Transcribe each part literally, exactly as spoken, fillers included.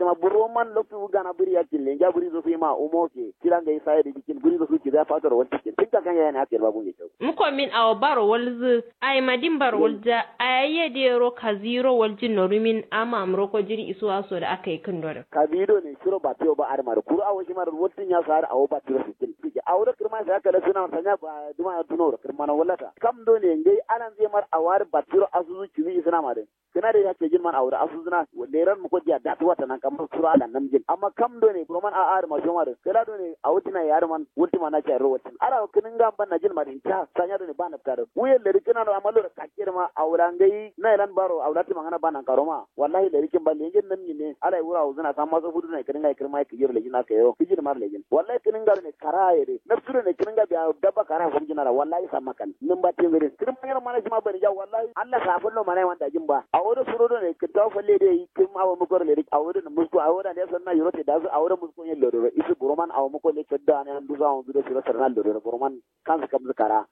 Amma buro man loktu gana buri yakkin lenja buri zo fima umo ke kira ngai saye da jikin buri zo su ki za fatoro wal tikin tinka kan yana hakke ba bunge tau. Muko min awo baro walzu. Ai madin baro walja. Ai ye de ro kaziro waljin norumin amma amro ko jiri isuwa so da aka yi kin dore. Kabido ne shiro ba tiyo ba armar kuru awo shi mar waltin ya sar awo ba tiro sikin. Awo da kirma sai aka da suna sanya ba duma ya tuno kirma na wallata kam do ne ngai anan zai mar awar ba tiro asuzu kiwi suna ma din. Kǝna dai ya cejin man awo dǝ asuzǝna. Leran mukodiya datuwa tanan kamma suro ala namjin amma kam done buroman a'a dǝ ma shoma dǝ kǝla done awo dǝna ye adǝ man wultǝma na cayiro waltin ara kǝnǝnga mbanna jin ma dǝ inta sanya done ba nabta dǝ wuyen lari kǝna do amma loro kakke dǝ ma awo la ngai nailan baro awo la tǝmangana ba nankaro ma. Wallahi lari kǝn ba lenjen namnyin ne ala ye wuro awozǝna samma so fudu done kǝnǝnga ye kǝrma ye kǝjiro lejin aka yero kǝji dǝ ma dǝ lejin wallahi kǝnǝnga done kara ye dǝ nabtu done kǝnǝnga biya dabba kara ye fomjin ara wallahi samma kan nǝmba tinzǝ dǝ kǝrma yero mana shima bani ja wallahi. Allah sa fullo mana ye man dajin ba awo do suro done kǝntawo falle dai kǝm awo mukoro ledi awo do musko awo do ande sanna yiro te dasu awo do musko yen lodoro isu buroman awo muko le codda ne andu sa andu do suro sarna lodoro buroman kansu kamsu kara.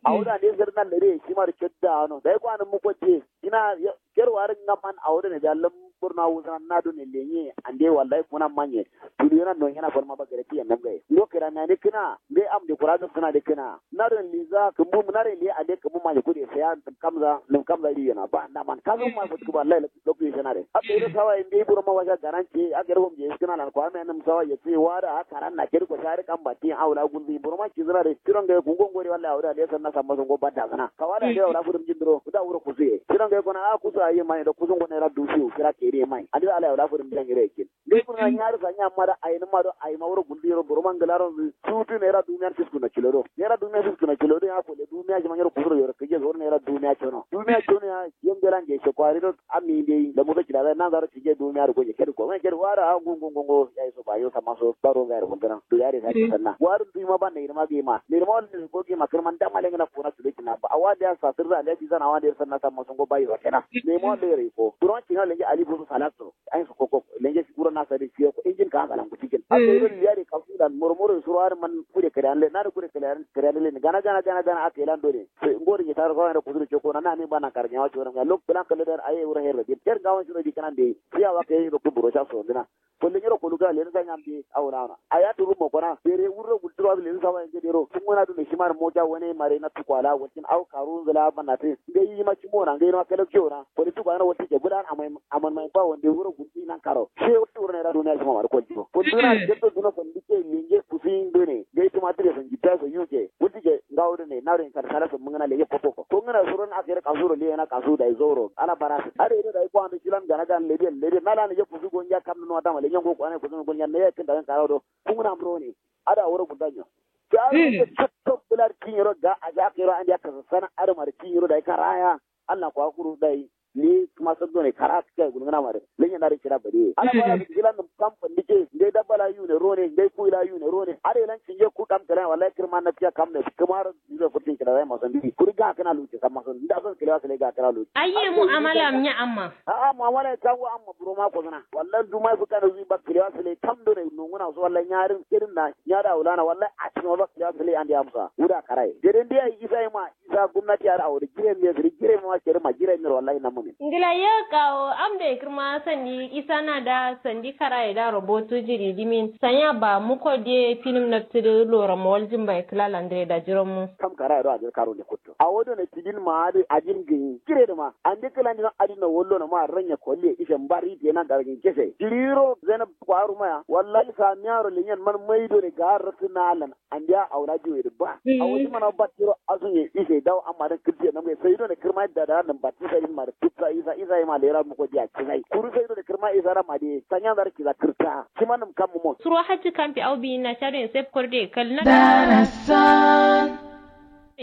Awo do ande sarna ledi shima do codda no dai ko anu muko te kina. Ker warin ngaman awo do ne jallam burna wuzana na do ne lenye ande wallahi kuna manye. Tuliyona no yana farma ba gare tiyan nam gaye ngo kira na ne kina ngai am de kura gab suna de kina. Naren liza kǝmbu naren liye ande kǝmbu maje kude saya nǝm kamza nǝm kamza ri yana ba naman kazu ma fǝt kǝba lai loktu ye shanare abbe ro sawa ye mbeyi buro ma washa garanti aka ro homje iskǝna lan kwa me nǝm sawa ye tsi wada a karan na kedi ko shari kam batti awo la gulzi buro ma kizǝna de tiro ngaye kungo ngori wallahi awo da le sanna samma songo badda sǝna kawa da de awo la fudum jindiro kuda wuro kusuye tiro ngaye kona a kusu ayi mai do kusungo naira dusiyo kira kedi mai ande ala awo la fudum jangire kin. Ngai kuna nyari sanya amma da ayi nǝma do ayi ma wuro guldi yero buro ma ngǝla ronzǝ sutu naira dumiya fiskuna kilo do naira dumiya fiskuna kilo do ya kole dumiya shima nyiro kusuro yero kǝje soro naira dumiya cono dumiya cono ya. Yem belan je shekwari do ammi mbeyi lamuso kila zai nanzaro kǝje dumiya do goje kedi ko mai kedi wara a ngungu ngungu ya iso ba yo samma so baro ngai ro gulgana do yare sa sanna wari dui ma ban naira ma gima naira ma wala ko gima kǝrman dama lengana kuna tulo kina ba awa da ya sa sirra da ya bi zana awa da ya sanna samma songo ba yo kena naira ma wala yero ko duron kina lenge ali busu salato. Ayin so koko lenge si kuro na sadi fiyo ko injin ka hangalan kuti jin aso iro liya de kasu dan moro moro suro har man kude kare an le na de kude kare an kare an le gana gana gana gana aka ilan dole. Sai ngori ni taro kawai da kusuru coko na na ni bana kar nyawa coro ya lok plan kalle dan aye wuro herre din ter gawan suro di kanan de. Fiya wa kai ro kuburo sha so dina. Kolle nyiro kolu ga le sa nyam de awna awna aya turu mo kona bere wurro gulturo le sa wa nge dero tungona dun shi mar moja wane mare na tukwala wakin au karu zula bana te. Ngai yi ma cimo na ngai ma kala kiyo na kole tukwala na wati ke gudan amai aman mai ba wande wuro gulti nan karo she wati wuro naira dumiya shima mari kolti ko ko duna jebbe duna ko ndike linge kusin dune ngai tuma tire san jitta so yuke wati ke ngawo dune na ren kar sala so mungana lege koko ko ko ngana suron akere kasuro le na kasu dai zoro ala bara ade ida dai ko ando kilan gana gan lede lede na la ne je kusu go nja kam no dama le nyango ko ane kusu go nja ne kin da karo do kunguna amro ne ada wuro gudanyo. Jaru ne cotto bular kinyiro ga aja kero ande aka sana ada mari kinyiro dai karaya. Allah kwa kuru dai ni kuma sabdo ne kara kai gulgana mare lenye na rikira bade ala bara kila num kam pandike ngai dabba la yune rone ngai ku la yune rone are lan cinje ku kam kala wallahi kirma na tiya kam ne kuma ro diro futin kila zai masan bi kuri ga kana luce san masan da san kila kala ga kana luce. Ayye mu'amala am nya amma. A'a mu'amala kan wa amma buro ma ko sana wallahi duma fu kana zui ba kila sale kam do ne nunguna so wallahi nyarin kirin na nyada ulana wallahi a cikin wallahi kila sale ande amsa uda karai geden dia isa ma isa gomnati har awo dǝ jire miye sǝri jire miye ma keri ma jire miye wallahi namma min. Ngla yo kawo am doi kǝrma sandi isa na da sandi karaye da robotu jiri dimin sanya ba muko diye finǝm nabtǝ dǝ loro mawalji mbaye kǝla landǝ ye da jironmu. Kam karaye do ajir karo nde kutto awo done tidin ma adǝ ajin gǝnyi jire dǝ ma ande kǝla ndino adin no wallo no ma ranya kolliye ishe mbari diye na gargin kese jiriro zainab kwaru maya wallahi samiyaro lenyen man mai done ga rattǝ na lan. Andiya awo la jiwe dǝ ba awo dǝ mana battiro asunye ise dawo amma dǝn kǝltiye namge sai done kǝrma yadda da nan batti sai ma dǝ kǝtta isa isa ye ma lera muko diya kizai kuru sai done kǝrma isa ra ma de sanya zar kiza kǝrta. Shi ma nǝm kam mumo. Suro hajji kamfi au biyin na chado en sef korde kal na. Darasan.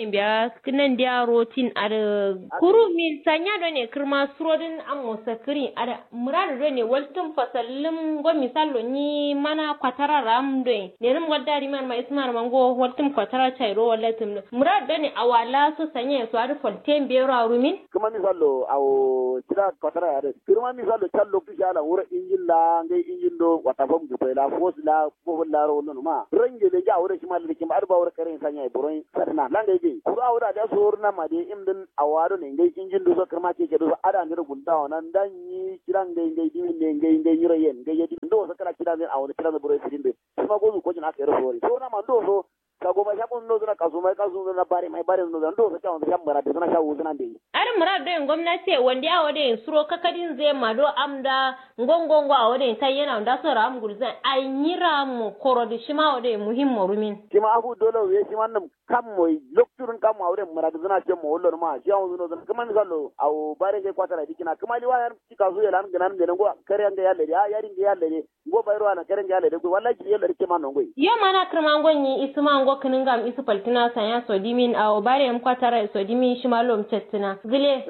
Biya kǝnan diya rotin adǝ kuru min sanya done kǝrma suro dǝn ammo sakǝri adǝ muradu done waltǝm fasallǝm ngo misallo nyi mana kwatara ram doi. Lenǝm wadda riman ma ismar ma ngo waltǝm kwatara chairo wallatǝm do muradu done awala so sanye so adǝ folte mbero arumin. Kǝma misallo awo cida kwatara yare kǝma misallo challo kǝsha la wuro injin la ngai injin do wata fam gufai la fos la bofol la ro wallonuma range lenja awo do shima lilikim adǝ ba wuro karen sanya buron sarna la ngai. Kuru awo da da soro na ma de im din awo ado ne ngai injin duso kirma keke duso ada ndiro gulda wana nda nyi kira ngai ngai dimin ne ngai ngai nyiro yen ngai yedi ndo so kala kira ne awo kira ne buro sidin de. Sima gozu kojin aka yero sori soro na ma ndo so. Ka goma sha kun ndo zuna kasu mai kasu zuna bare mai bare ndo zuna ndo so kyawun sha mara de zuna sha wuzuna de. Adǝ murad doyin gomnati ye wandi awo doyin suro kakadin zai ma do am da ngongongo awo doyin tayyena nda so ram gulzan ai nyira mo koro dǝ shima awo doyin muhim mo rumin. Shima afu dolo we shima nǝm kam moi lokturun kam awo doyin murad zuna shem mo wollo nǝma shi awun zuno zuna kǝma misalo awo bare ngai kwatara dikina kǝma liwa yar cika su yelan gǝnan gǝnan go kare ngai yalle de a yari ngai yalle de. Ngo bayro ana kare ngai yalle de go wallahi jiri yalle de kema nongoi. Yo mana kǝrma ngonyi isǝma ngo kǝnǝngam isǝ faltǝna sanya sodimin awo bare yam kwatara sodimin shima lom cettǝna gǝle.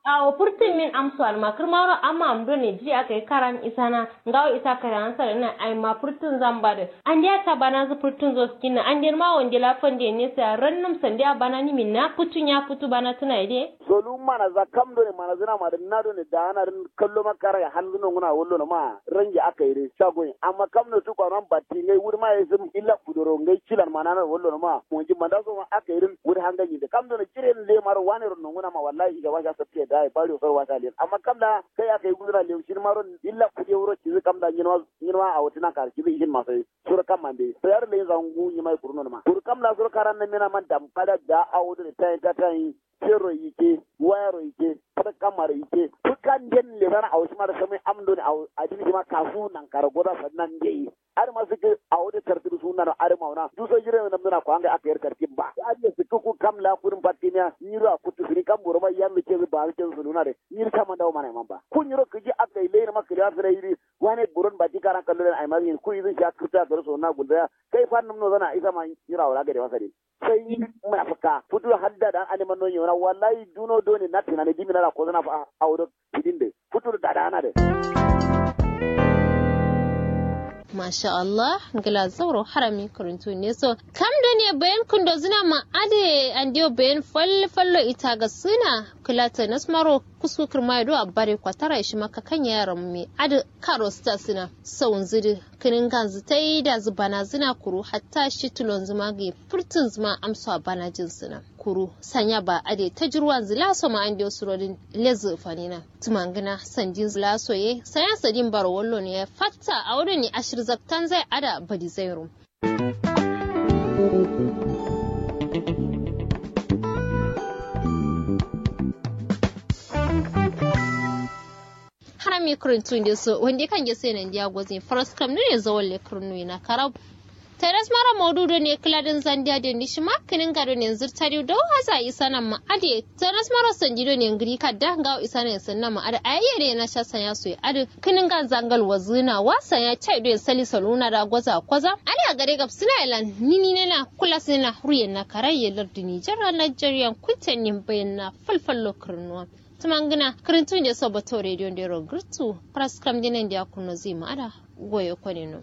Awo furtun min amso alma kǝrmaro amma amdo ne jiri aka yi karan isana ngawo isa kare ansar ina aima furtun zamba dǝ. Andiya ta bana zǝ furtun zo skinna andiya ma wande la fande ne saya rannum sandiya bana nimin na futu nya futu bana tuna ide. Solu mana za kam done mana zǝna ma dǝn na done da ana dǝn kallo ma kara ya hanzǝ nonguna wallo no ma range aka yi dǝ shagoyin amma kam no tu kwano batti ngai wuri ma ya isǝm illa kudoro ngai cilan mana na wallo no ma monji manda so ma aka yi dǝn wuri hanganyi dǝ kam done ciren le maro wane ro nonguna ma wallahi ija washa sabte da ya bari sor washa len amma kam da kai aka yi gudura le shin maro illa kude wuro cizi kam da nyinwa nyinwa a wutina kar cizi ishin masai sura kam mande sayar le zangu nyimai kuruno ma kuru kam da sura karan na mina man damfada da a wudu da tayin ta tayin. Fero yike wayaro yike fǝrkamaro yike fǝkanden lezana awo shima dǝ samai amdo ne awo adin shima kasu nankaro goza sannan ndeyi. Adǝ ma sǝkkǝ awo dǝ kartǝ dǝ sunna no adǝ mauna duso jire namdǝna ko angai aka yar kartǝ ba adǝ ye sǝkkǝ ku kam la kudǝn fattimiya nyiro a kuttu sǝni kam boro ma yambe cezǝ ba cezǝ sǝluna dǝ nyiro caman dawo mana yaman ba ku nyiro kǝji aka yi layi nama kǝliya sǝrai dǝ. Wane buron bati karan kallo den aima zǝ nyi ku izǝn sha kǝrta soro soro na gulzaya kai fannum nozana isa ma nyiro awo la gade ma sadin. Sai munafuka futu hadda dan ane manno nyona wallahi duno done na tunani dimi na ko zana fa awo do fidin de futu da da na de. Masha Allah ngla zauro harami kuruntu ne so kam done bayan kundo zina ma ade andiyo bayan fal fallo ita ga suna kula ta nasmaro kusku kirma do abbare kwatara shi maka kan yaran me ade karo sta suna saun zidi kinin ganzu tai da zubana zina kuru hatta shi tulon zuma ga furtun zuma amsa bana jin suna kuru sanya ba ade ta jirwan zila so ma an dio surodin lezu fanina tumangina sandin zila so ye sanya sadin baro wallo ne ya fatta a wurin ni ashir zaktan zai ada badi zai rum. Hana mi kuruntu nde so wande kan ge sai nan dia gozin faras kam ne zawalle kurnu ina karau. Taras mara maudu do ne kladin zandia de ni shima kinin ga do ne zirtari do haza isana ma ade taras mara sandi do ne ngiri kadda ngawo isana sanna ma ade ayye ne na sha sanya so ade kinin ga zangal wazina wa sanya chai do sali saluna da goza koza ade a gare gab sina ilan nini ne na kula sina ruyen na karayye lardini jara nigerian kunten nin bayan na falfallo kurnuwa. Tumangina kirintu nde so bato radio ndero girtu. Praskram dine nde akuno zima ada goyo konino.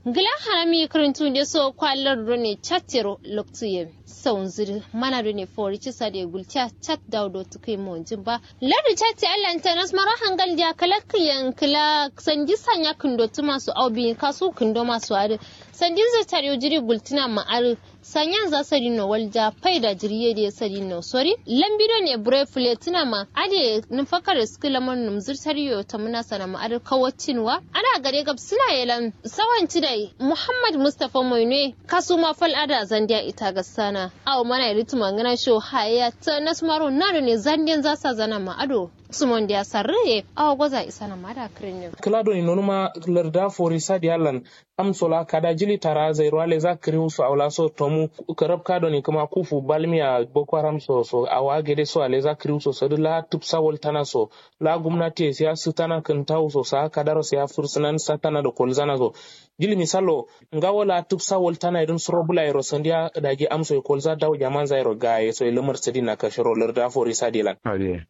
Ngila harami kirintu nde so kwa lardu ne chatero loktu ye saunziri mana do ne fori cisa de gulcha chat daudo tukai monjin ba. Lardu chat ya lantanas maro hangal dia kalakki yankila sanji sanya kindo tuma su au bin kasu kindo masu adi. Sanjin zai tare jiri gultina ma'ari. Sanyan za sadin no walja faida jiriye de sadin no sori lambi do ne bure fule tuna ma ade nufakar sku lamar numzur tariyo ta muna sana ma ade kawacin wa ana gare gab suna yelan sawan cidai muhammad mustafa moinwe kasu ma fal ada zandiya ita ga sana awo mana yari tuma ngana sho hayaya ta nasmaro na do ne zandiyan za sa zana ma ado sumon da ya sarre awo goza isana ma da kirin ne kila do ne nonuma larda fori sadiya lan. Amso la kada jili tara zairo ale za kiriu so awo la so tomu karab ka doni kǝma kufu balmiya boko haram so so awo agede so ale za kiriu so sodǝ la tǝbsa waltana so la gumnati ye siya sǝtana kǝntawu so sa kadaro siya fursǝnan satana do kolzana so. Jili misalo ngawo la tǝbsa waltana ye dǝn suro bula yero sandiya daji amso ye kolza dawo jaman za yero gaye so ye lǝmar sǝdina kashiro larda fori sadilan.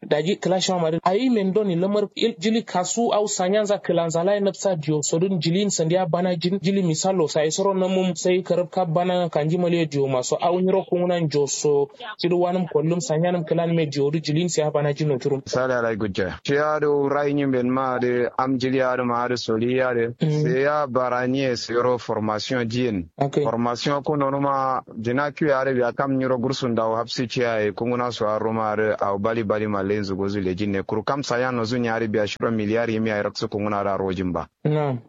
Daji kǝla shima. Ayi men done lamar jili kasu au sanyanza kǝlanza layi nabsa diyo sodǝn jiliyin sandiya bana jin jili misallo sayi soro namum sai karabka bana kanji maliyo diyo maso au nyiro kunguna njoso. Cidi wanǝm kollum sanyanǝm kǝlanǝm ye diyo dǝ jiliyin sai abana jin no curum. Sale alai gujja ciya dǝ rayi nyi mben ma dǝ am jili adǝ ma adǝ soli ya dǝ sai ya bara nyi ye sai ro formation jiyin. Formation kuno numa dina kiwe adǝ biya kam nyiro gursun dawo hapsi ciya ye kunguna so arro ma adǝ awo bali bali ma lenzu gozu lejin ne kuru kam sanya nozu nya adǝ biya shiro miliyar yimi yayi raksu kunguna adǝ arro jin ba.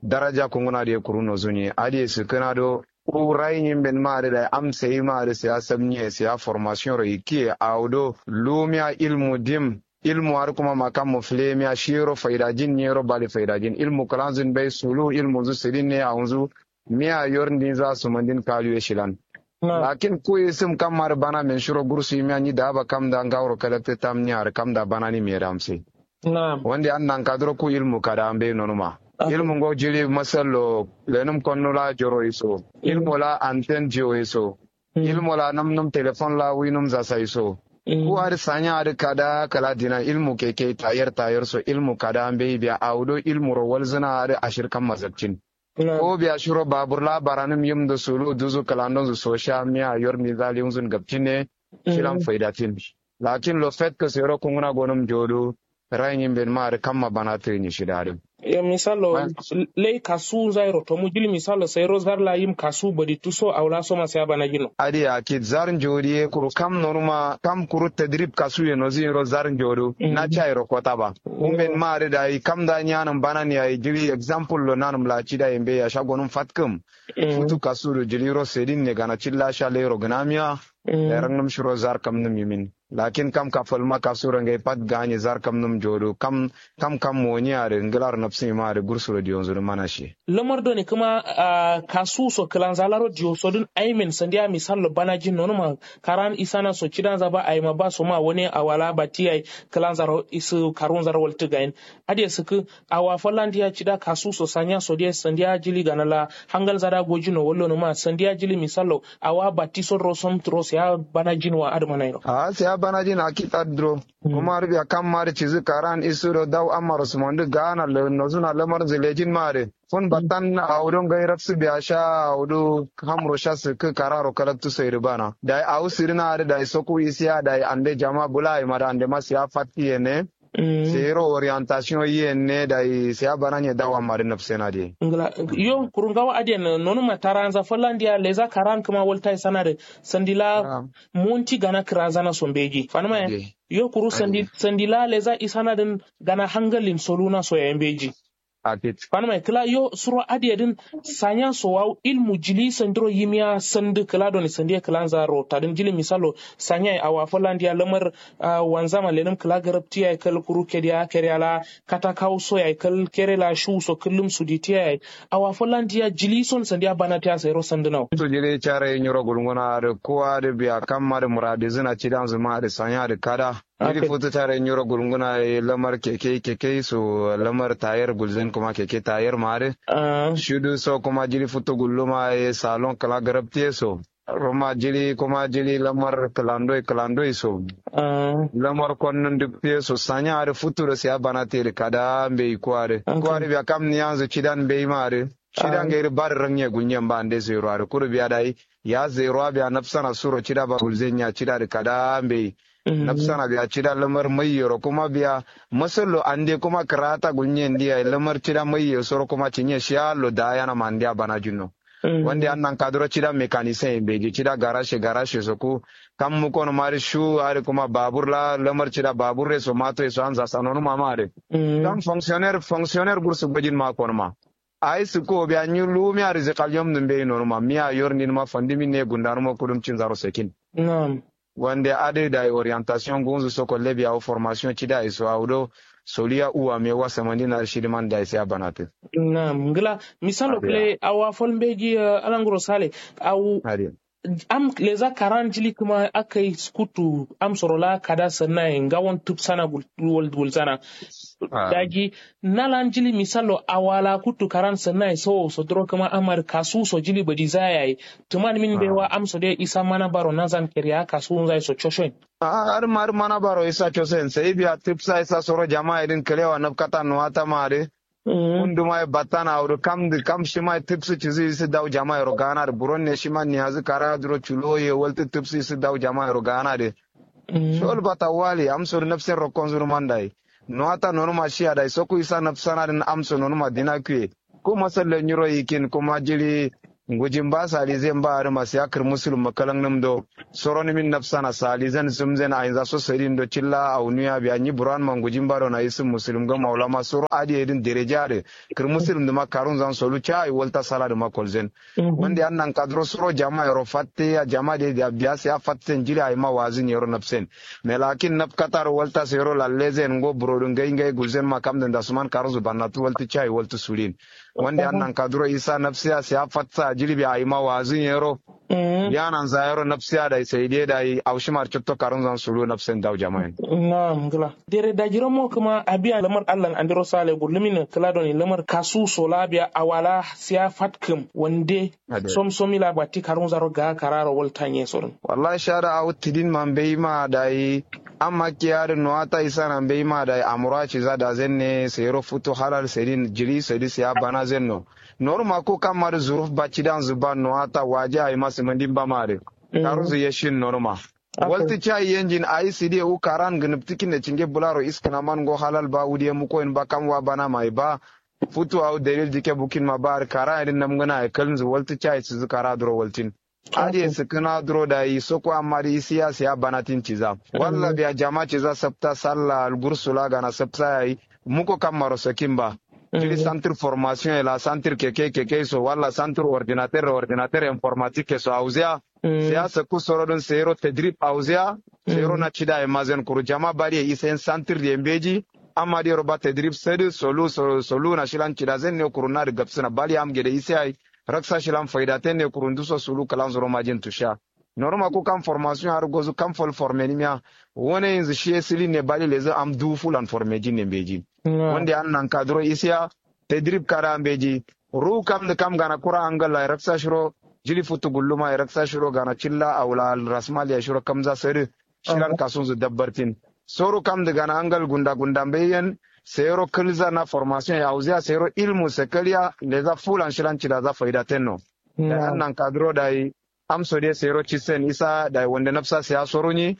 Daraja kunguna adǝ ye kuru nozu nyi adǝ ye sǝkkǝna do. Ku rayi nyi mben ma adǝ dayi am sayi ma adǝ sai ya sab nyi ye sai ya formation ro yikki ye awo do lumiya ilmu dim. Ilmu adǝ kuma makammo fǝlemiya shiro faidajin nyero bali faidajin ilmu kǝlanzun bai sulu ilmunzu sǝdin ne awunzu. Miya yor ndinza sumandin kalu ye shilan. Lakin ku isǝm kam adǝ bana men shiro gursu yimiya nyi daba kamda ngawuro kadaktǝ tam nyi adǝ kamda bana ni mere amse. Wande an nankaduro ku ilmu kada ambe nonuma. Ilmu ngo jili masallo lenum konnu la joro iso ilmu la anten jiwo iso ilmu la namnum telefon la winum zasa iso. Ku adǝ sanya adǝ kada kala dina ilmu keke tayer tayer so ilmu kada mbeyi biya awudo ilmu ro walzǝna adǝ ashir kam mazabcin. Ko biya shiro babur la baranǝm yim do sulu duzu kǝlandonzu sosha miya yor mizali wunzun gabcin ne. Shilan faidatin. Lakin lo fetkǝ sero kunguna gonǝm jodu. Rayi nyi mben ma adǝ kamma bana tǝ nyi shida adǝ. Yo misallo lai kasu nzairo tomu jili misallo sairo zar la yim kasu badi tuso awo la soma sai abana jin no. Adǝ ya kit zar njodi ye kuru kam nonuma kam kuru tadrib kasu ye nozi yiro zar njodu na cairo kota ba. Umben ma adǝ dayi kam da nyanǝm bana ni yayi jili example lo nanǝm la cida ye mbe ya sha gonǝm fatkǝm. Futu kasu do jili yiro sedin ne gana cilla sha lairo gǝnamiya. Dayi rannǝm shiro zar kamnǝm yimin. Lakin kam kafalma kasuro ngai pat ganye zar kamnum jodo kam kam kam moni are nglar nafsima are gursuro diyonzuro mana shi. Lamar done kǝma kasu so kǝlanza laro diyo sodun aimen sandiya misallo banajin nonuma. Karan isana so cidanza ba aima ba soma wone awala bati ai kǝlanzaro isǝ karunzaro waltǝ gain. Adiye sǝkǝ awa fallandiya cida kasu so sanya so diye sandiya jili gana la hangal zada gojino wallo numa sandiya jili misallo. Awa batti sodoro somtǝro siya banajin wa adǝ manairo. Ahh siya banajin akit adǝ duro. Kuma adǝ biya kamma adǝ cizǝ karan isǝro dawu ammaro sǝmandǝ gaana nozuna lamarnzǝ lejin ma adǝ. Fun battan awudo ngai raksǝ biya sha awudo hamro sha sǝkkǝ kararo kalaktu soyidǝ bana dayi awu sǝdǝna adǝ dayi soku isiya dayi ande jama bula ayi ma dǝ ande ma siya fatti yene. Seyiro orientation yiyen ne dayi siya bananye dawa mari nafsena de. Ngla yo kuru ngawo adiyen nonuma taranza fallandiya leza karan kǝma waltai sanadǝ. Sandila monti gana kǝrazana so mbeji fanǝma ye. Yo kuru sandila leza isanadǝn gana hangalin soluna so yayi mbeji. Fanǝma ye kǝla yo suro adiye dǝn. Sanya so wawu ilmu jili sandiro yimiya sandǝ kǝla done sandiye kǝlanza rotadǝn jili misalo. Sanya ye awa fallandiya lamar. Wanzama lenǝm kǝla garabti yayi kal kuru kediya kediya la kata kawu so yayi kal kere la shuwu so kǝllum suditi yayi. Awa fallandiya jili son sandiya banatiya sairo sandǝnau. Futu jili care nyiro gulnguna adǝ kuwa adǝ biya kamma adǝ muradizǝna cidanzǝ ma adǝ sanya adǝ kada. Jili futu care nyiro gulnguna ye lamar keke keke so lamar tayer gulzǝn kuma keke tayer ma adǝ. Shudu so kuma jili futu gulluma ye salon kǝla garabtiye so. Ruma jili kuma jili lamar kǝlandoi kǝlandoi so. Lamar konnun duk fiye so sanya adǝ futu do siya bana tedǝ kada mbeyi kuwa adǝ kuwa adǝ biya kam niyanzǝ cidan mbeyi ma adǝ. Cida ngai dǝ ba dǝ ranye gulnyen ba ande zero adǝ kuru biya dayi. Ya zero a biya nafsana suro cida ba gulzenya cida dǝ kada mbeyi. Nafsana biya cida lamar maiyero kuma biya masallo ande kuma kǝrata gulnyen diya lamar cida maiye soro kuma cinye shiya lo dayana ma andeya banajin no. Wande an nankaduro cida mekanisen ye mbeji cida garashe garashe so ku. Kam mukonuma adǝ shu adǝ kuma babur la lamar cida babur ye so mato ye so anza sanonuma ma adǝ. Kam fonksioner fonksioner gursu gojin ma konuma. Ayi sǝkko biya nyi lumiya rizikaliyom nǝ mbeyi nonuma miya yor ninuma fandǝmin ne gundanuma kudum cinzaro sakin. Wande adǝ dayi orientation ngunzu so kolle biya wu formation cida ye so awudo. Soliya uwa me wa samandin adǝ shidǝman dayi sai abanatǝ. Nam ngla misalo kǝle awa fal mbeji. Alanguro sale awu. Am leza karan jili kǝma akai skuttu am soro la kada sanna ye ngawon tǝbsana gulzana. Daji nalan jili misallo awala kuttu karan sanna ye sowo so duro kǝma amar kasu so jili badi zaya ye. Tǝman min bewa am so de isa mana baro nazan keriya kasu nzai so coshoin. A'a adǝ ma adǝ mana baro isa cosen sai biya tǝbsa isa soro jama'a ye dǝn kǝlewa nabkata nuwata ma adǝ. Kunduma ye battana awo dǝ kam dǝ kam shima ye tǝbsǝ cizǝ isǝ dawu jama'a yero gana dǝ buron ne shima niyazǝ kara duro culo ye waltǝ tǝbsǝ isǝ dawu jama'a yero gana dǝ. Shol bata wali amso dǝ nabsen rokkonzǝ dǝ man dayi. Nuwata nonuma shiya dayi sokku isa nabsana dǝn amso nonuma dina kuye. Ku masalle nyiro yikin kuma jili ngujin ba salizen ba adǝ masiya kǝrmusulum ma kalannǝm do. Soronǝmin nabsana salizen sǝmzen ainza so sadindo cilla aunuya biya nyi buran ma ngujin ba dona isǝm musulum gam aulama soro adǝ ye dǝn dereja adǝ. Kǝrmusulum dǝma karunzan solu ca ayi walta sala dǝma kolzen. Wande an nankaduro soro jama yero fatte ya jama de biya siya fatten jili ayima wazǝn yero nabsen. Melakin nabkataro walta sero lallezen ngo burodǝ ngai ngai gulzen ma kamdǝn dasuman karunzǝ bannatǝ waltǝ ca ayi waltǝ sulin. Wande an nankaduro isa nabsiya siya fatsa jili biya ayima wazǝn yero. Yananza yero nabsiya dayi saide dayi aushimar cotto karunzan sulu nabsen dawu jamayen. Na'am ngla. Dere dajiro mo kǝma abiya lamar allan andiro sale gullumin kǝla doni lamar kasu sola biya awala siya fatkǝm wande. Somsomi la batti karunzaro ga kararo waltanye sorin. Wallahi shada awu tidin ma mbeyi ma dayi. Amma kiya dǝ nuwata isana mbeyi ma dayi amura ciza dazenne seyiro futu halal sedin jili sedi siya banazenno. Noruma ku kamma dǝ zuruf baccidanzǝ banno ata waje ayima sǝmǝndin bama dǝ. Karunzǝ yeshin noruma. Waltǝ cayi yenjin ayi sǝdiye wu karan gǝnǝptǝkinne cinge bǝlaro iskǝna man ngo halal ba wudiye mukoyin ba kam wa bana mayi ba. Futu awu dalil dike bukin ma ba dǝ kara yedǝ namgǝna ye kalnzǝ waltǝ cayi sǝzǝ kara duro waltin. Adǝ ye sǝkkǝna duro dayi soko amma dǝ isiya siya banatin ciza walla biya jama ciza sapta salla algursula gana sapsa yayi. Muko kammaro sakin ba. Jiri santir formation ye la santir keke keke so walla santir ordinater ordinater informatique so auziya. Siya sakku soro dǝn seyiro tedrib auziya. Seyiro na cida ye mazen kuru jama bari ye isen santir ye mbeji. Amma diyero ba tedrib sadǝ solu solu na shilan cida zen ne kuru nadǝ gabsǝna bali am gede ise yayi. Raksa shilan faidaten ne kuru nduso sulu kǝlan zoro majin tusha. Noruma ku kam formation har gozu kam fol formenimiya. Wone yinzǝ shiye sǝlin ne bali lezǝ am duwu fulan formejin ne mbeji. Wande an nankaduro isiya tedrib kada mbeji. Ruwu kamdǝ kam gana kura angal la ye raksa shiro. Jili futu gulluma ye raksa shiro gana cilla awula rasmal ya shiro kamza sadǝ. Shilan kasunzǝ dabbartin. Soru kamdǝ gana angal gunda gunda mbeyi yen. Seyiro kǝlza na formation ye auziya seyiro ilmu sekaliya leza fulan shilan cidaza faidatenno. Dayi an nankaduro dayi. Amso de sero cisen isa dayi wande nafsa siya sorunyi.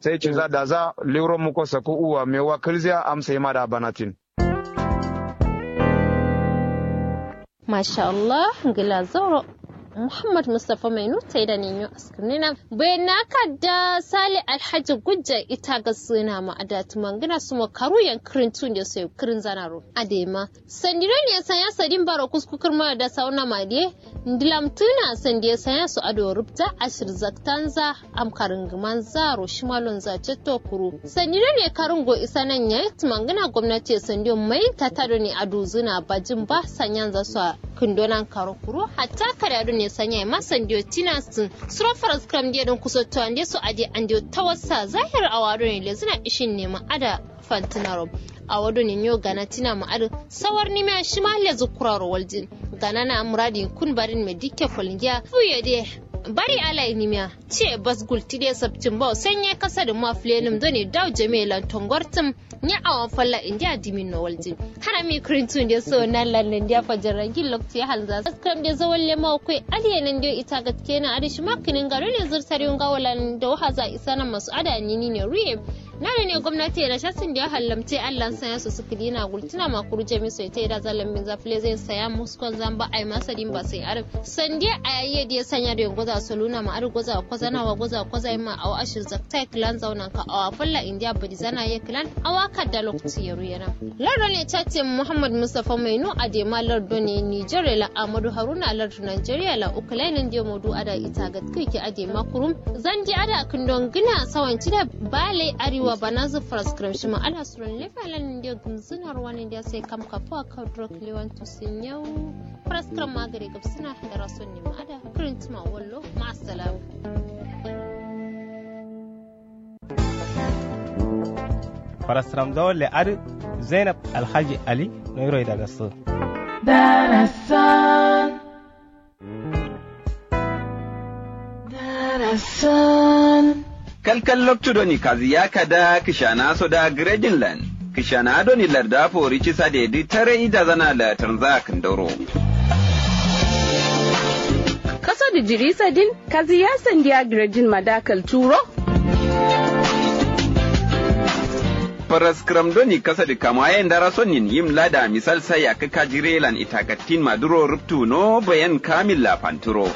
Sai ciza daza liwro muko saku uwa mewa kǝlziya amsa yima da banatin. Masha allah. Ngla zauro. Muhammad mustafa mainu taida ninyo askirnina. Baina kadda sali alhaji gujja ita ga suna ma adatu mangina sumo karu yan kirin tun de sai kirin zanaro adema. Sandiro ne sanya sadin baro kusku kirma da sauna ma de. Ndilamtǝna sandiye sanya so ado rubta ashir zaktanza. Am karǝngǝmanza ro shimalonza cetto kuru sandiro ne karǝngo isanan yayi tǝmangǝna gomnati ye sandiyo mai tata done aduzǝna bajin ba sanyanza so a kǝndonan karo kuru hatta kada done sanya ye ma sandiyo tina sǝn. Suro faraskǝram diye dǝn kusotto ande so ade andeyo tawassa zahir awa done lezǝna ishin nema ada. Fantǝnaro awo done nyo gana tina ma adǝ. Sawarnimiya shima lezǝ kuraro waljin. Ganana muradin kun barin me dikke kolngiya fuye de. Bari alayi nimiya. Ciye bas gulti de sabtin bawo sanye kasa dǝ ma fulenǝm done dawo jamiye lan tongortǝm. Nya awo falla indiya dimin no waljin. Harami kurintu nde so nallan nandiya fajarrangin loktu ya halza. Kam de zawalle ma koi. Adiye nandiyo ita gatkena adǝ shima kǝnin gado ne zurtari wunga walan dawo haza isana masu ada nini ne ruye. Nado ne gomnati ye nasha sǝndiya hallamte allan sanya so sǝkǝdina gultǝna ma kuru jami so ye taida zallan binza fǝlezain saya muskon zamba aima sadin ba sai adǝ. Sande ayaye diye sanya do ye ngoza soluna ma adǝ goza kozana wa goza koza yima awo ashir zaktai kǝlan zaunanka awa falla indiya badizana ye kǝlan. Awa kadda loktu ye ruyena. Lardo ne chatin muhammad mustafa mainu adema lardo ne nigeria la amadu haruna lardo nigeria la ukulainin diye modu ada ita gatkǝki adema kurum. Zandi ada kǝndon gǝna sawanci da. Bale arewa. Babanazu faraskram shima ala suron lefa lan nde gumzuna ruwan nde sai kam kafuwa kaudro kliwan tusin yau. Faraskram magare gabsuna da rason nima ada kurintuma wallo. Ma'assalam. Faraskram zawalle adu zainab alhaji ali noiro idagasso. Darasan. Darasan. Kalkal loktu doni kaziya kada kishana soda gredin lan kishana doni larda fori cisa dedi tare ida zana la tanza kandoro. Kaso da jirisa din kaziya sandiya gredin madakal turo. Faraskram doni kasa da kama yayin dara sonin yim lada misal sai ya kaka jirelan itakatin maduro ruptu no bayan kamil la fanturo.